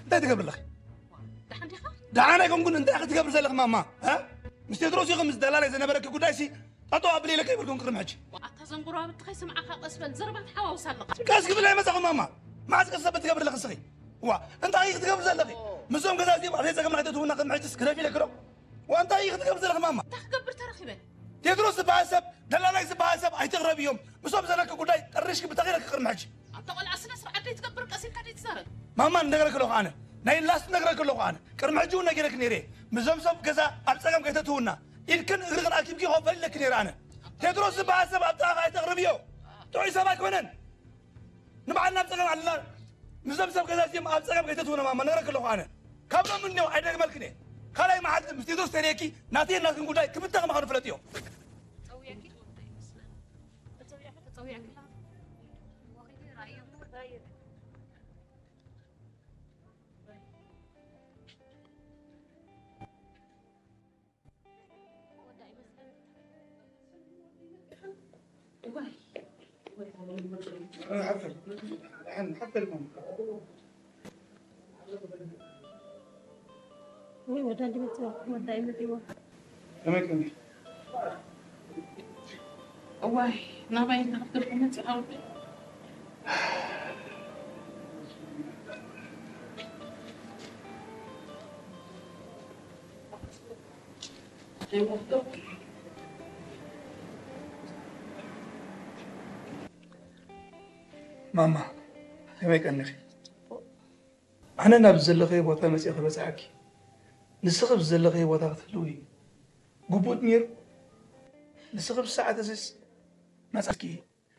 እንታይ ትገብሪ ኣለኺ? ደሓን ዲኻ? ደሓን ኣይኮንኩን። እንታይ ክትገብሪ ዘለኺ ማማ? እ? ምስ ቴድሮስ ኢኹም ምስ ደላላይ ዝነበረኪ ጉዳይሲ ጠጠው ኣብሊ ኢለ ከይበልኩም ቅድሚ ሕጂ። ኣታ ዘንጉራብቲ ከይስምዓካ ቀስ በል፣ ዘረባ ትሓዋውስ ኣለኻ። ቀስ ክብል ኣይመጻኹም ማማ። መዓዝ ቀስ ዘብል ትገብሪ ኣለኺ እስኺ? ዋ፣ እንታይ እዩ ክትገብሪ ዘለኺ? ምስዞም ገዛ እዚኦም ኣብ ጸገም ናይተትውና ቅድሚ ሕጂስ ግደፊ ኢለኪ ዶ? ዋ፣ እንታይ እዩ ክትገብሪ ዘለኺ ማማ? እንታይ ክገብር ተረኺበ? ቴድሮስ ዝበሃል ሰብ፣ ደላላይ ዝበሃል ሰብ ኣይትቕረብዮም። ምስኦም ዘለኪ ጉዳይ ጠሪሽኪ ብተኺለኪ ቅድሚ ሕጂ። ኣንታ ቆልዓ ስነ ስርዓት ደይትገብር ቀስ ኢልካ ደይትዛረብ። ማማ ንነግረኪ ኣለኹ ኣነ። ናይ ላስት ነግረኪ ኣለኹ ኣነ። ቅድሚ ሕጂ እውን ነጊረኪ ነይረ። ምስዞም ሰብ ገዛ ኣብ ጸገም ከይተትውና ኢድክን እግርክን ኣኪብኪ ክኾን ፈሊለኪ ነይረ ኣነ። ቴድሮስ ዝበሃል ሰብ ኣብ ጥቓኺ ኣይተቕርብዮ። ጥዑይ ሰብ ኣይኮነን። ንባዕልና ኣብ ጸገም ኣለና። ምስዞም ሰብ ገዛ እዚኦም ኣብ ጸገም ከይተትውና ማማ ነግረኪ ኣለኹ ኣነ። ካብ ሎም እንዲዮ ኣይደግመልክን እየ። ካልኣይ መዓልቲ ምስ ቴድሮስ ተሪእኪ ናተይን ናትክን ጉዳይ ክብተኽ ምዃኑ ፍለጥዮ። ወይ ወዳ እንዲመጽዋ ወዳ ይመጽዋ። ከመይ ከመይ? እዋይ ናባይ እንተ ክትገብር መጽእ ኣውደ። ማማ ከመይ ቀኒኺ? ኣነ ናብ ዘለኽዮ ቦታ መጺኤ ክበጽሓኪ፣ ንስኺ ኣብ ዘለኽዮ ቦታ ክትህልዊ ግቡእ ነይሩ። ንስኺ ብሰዓት እዚስ መጻእኪ